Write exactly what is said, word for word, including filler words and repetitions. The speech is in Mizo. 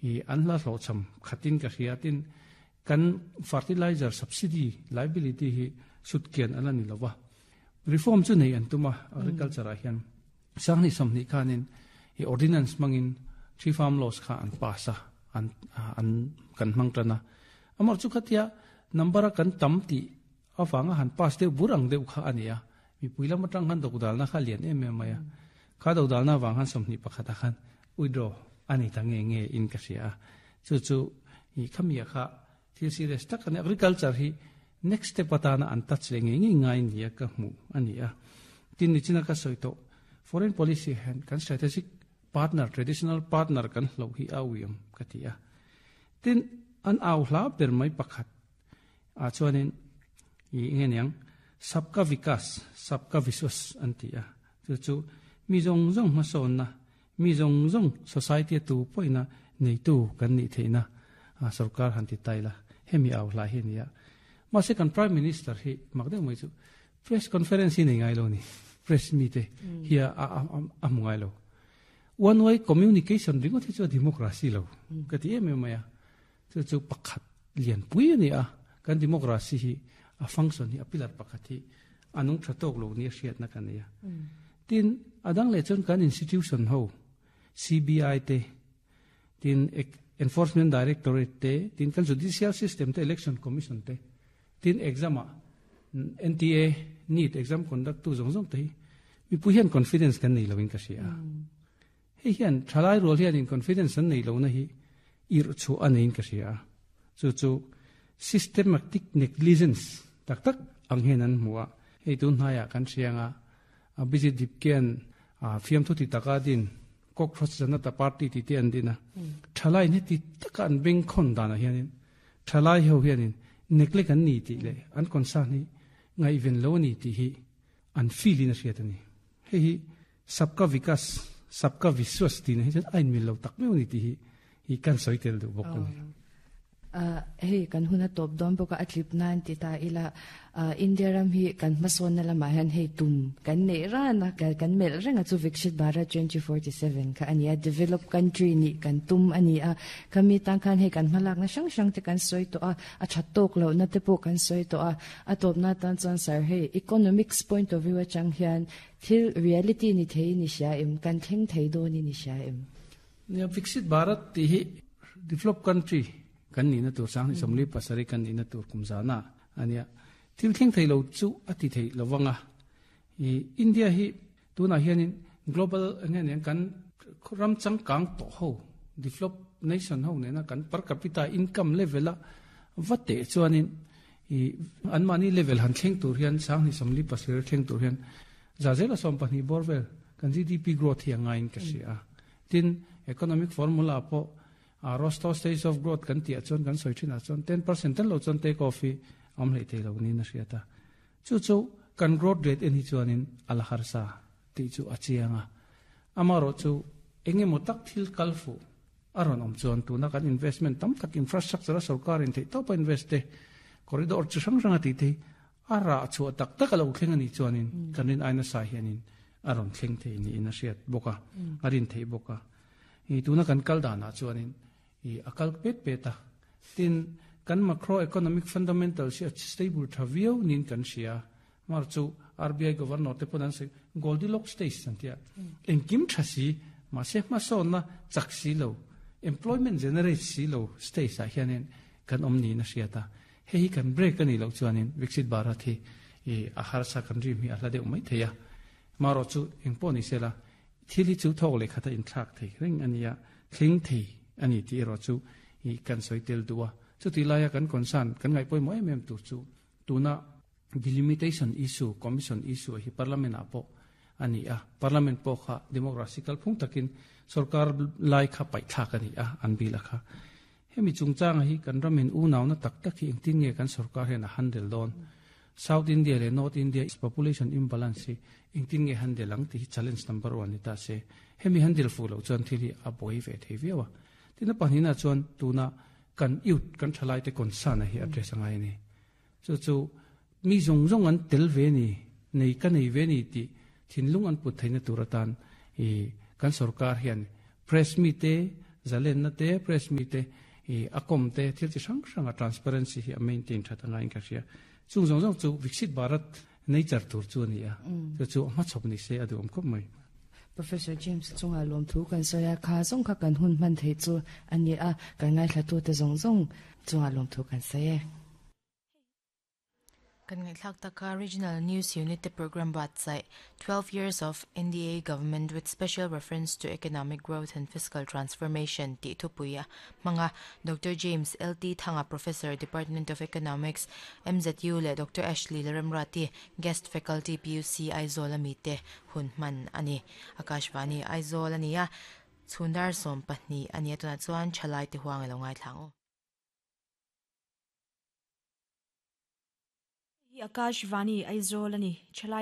I an la hlo cham khatin ka hriatin kan fertilizer subsidy liability hi sutkian ala ni lova reform chu nei an tuma agriculture a hian sangni somni khanin i ordinance mangin tree farm laws kha an pasa an an kan mang tana amar chu khatia number kan tam ti awanga han pass de burang deuh kha ania mi puila matang han dok dal na kha lian em em maya kha dok dal na wang han somni pakhata khan withdraw ani ta nge nge in ka sia chu chu i khamia kha thil serious tak ani agriculture hi next step atana an touch le nge nge ngai nia ka mu ani a tin ni china ka soito foreign policy han kan strategic partner traditional partner kan hlo hi awiam katia tin an aw hla ber mai pakhat a chuanin i nge sabka vikas sabka viswas antia chu chu mi zong zong ma son na mi zong zong society tu poina nei tu kan ni theina a sarkar han ti taila hemi aw hla hi nia ma se kan prime minister hi makde mai chu press conference hi nei ngai lo ni press meet hi a a mu ngai lo one way communication ringo thi chu democracy lo ka ti em em maya chu chu pakhat lian pui ani a kan democracy hi a function hi a pillar pakhat hi anung thatok lo ni hriat na kan ya tin adang le chon kan institution ho C B I te tin enforcement directorate te tin kan judicial system te election commission te tin exam a N T A NEET exam conduct tu zong zong te mi pu hian confidence kan nei lovin ka sia hei hian thalai rol hian in confidence an nei lo na hi ir chu anein ka sia chu chu systematic negligence tak tak ang hen an muwa hei tun hnaya kan sianga a busy dipken a fiam thu ti taka din cockroach janata party ti te an dina thalai ne ti taka an beng khon dana hianin thalai ho hianin neglect an ni ti le an concern ni ngai ven lo ni ti hi an feel in a hriat ani hei hi sabka vikas sabka viswas ti na hi ain mil lo tak meu ni ti hi hi kan soitel du bok ani Uh, hei kan huna top don boka atlip nan ti ta ila uh, India ram hi kan mason na lama han hei tum kan nei ra na kan mel renga chu Viksit Bharat twenty forty-seven kha ania develop country ni kan tum ani a kami tang khan hei kan malak na sang sang te kan soi to a a thatok lo na te po kan soi to a a top na tan chan sar hei economics point of view chang hian thil reality ni thei ni sha em kan theng thei do ni ni sha em ya Viksit Bharat ti hi develop country kan ni na tur sang ni somli pasari kan ni na tur kumzana ania thil thleng thei lo chu ati thei lowanga i India hi tuna hianin global nge ne kan ram chang kang to ho develop nation ho ne na kan per capita income level a vate chuanin i an mani level han thleng tur hian sang ni somli pasari thleng tur hian za zela som pani borvel kan G D P growth hi angain ka sia tin economic formula po a rosto stage of growth kan tia chon kan soi thina chon ten percent ten lo chon take off hi am hlei thei lo ni na hriata chu chu kan growth rate en hi chuanin al harsa ti chu achianga amaro chu enge motak thil kalfu aron om chuan tu na kan investment tam tak infrastructure sarkar in thei top invest te corridor chu sang sang ati te ara chu tak tak lo thleng ani chuanin kanin aina sa hianin aron thleng thei ni in a hriat boka arin thei boka i tuna kan kal dana chuanin i akal pet peta tin kan macroeconomic fundamentals hi stable thaviau nin kan sia mar chu R B I governor te ponan se Goldilocks stage santia engkim thasi ma se ma so na chak si lo employment generate si lo stage a hianin kan omni na siata hei kan break ani lo chuanin Viksit Bharat hi i a harsa kan rim hi a hla deuh mai theia maro chu engpawh ni sela thil hi chu thawk leh khata in thlak thei reng ania thling thei ani ti ro chu i kan soitel duwa chu ti laia kan concern kan ngai poi mo em em tu chu tuna delimitation issue commission issue hi parliament apo ani a parliament po kha democracy kal phung takin sarkar lai kha pai thak ani a an bila kha hemi chungchang hi kan ramin u naw na tak tak hi engtin nge kan sarkar hen a handle don South India le North India is population imbalance hi engtin nge handle ang ti hi challenge number one ni ta se hemi handle fu lo chuan thil hi a boi ve thei viawa tina panina chuan tuna kan youth kan thalai te concern hi address angai ni chu chu mi zong zong an tel ve ni nei ka nei ve ni ti thinlung an put theina turatan e kan sarkar hian press mi te Zalen na te press mi te i akom te thil chi sang sang a transparency hi a maintain that anga in ka hria chung zong zong chu Viksit Bharat nature tur chu ani a chu chu ma chop ni se adu om khop mai. Professor James chunga lom thu kan soya kha zong kha kan hun man thei chu ani a kan ngai thla tu te zong zong chunga lom thu kan saye. Kan ngai thlak taka Regional News Unit te program website twelve years of N D A government with special reference to economic growth and fiscal transformation ti thupuia manga Doctor James L T Thanga, Professor, Department of Economics, M Z U le Doctor Ashley Leremrati, guest faculty, P U C Aizawl ami te hun man ani. Akashvani Aizawl ania chundar som pahnih ania tuna chuan thalai te huang alo ngai thlang. Hi Akashvani Aizawl ani chalai.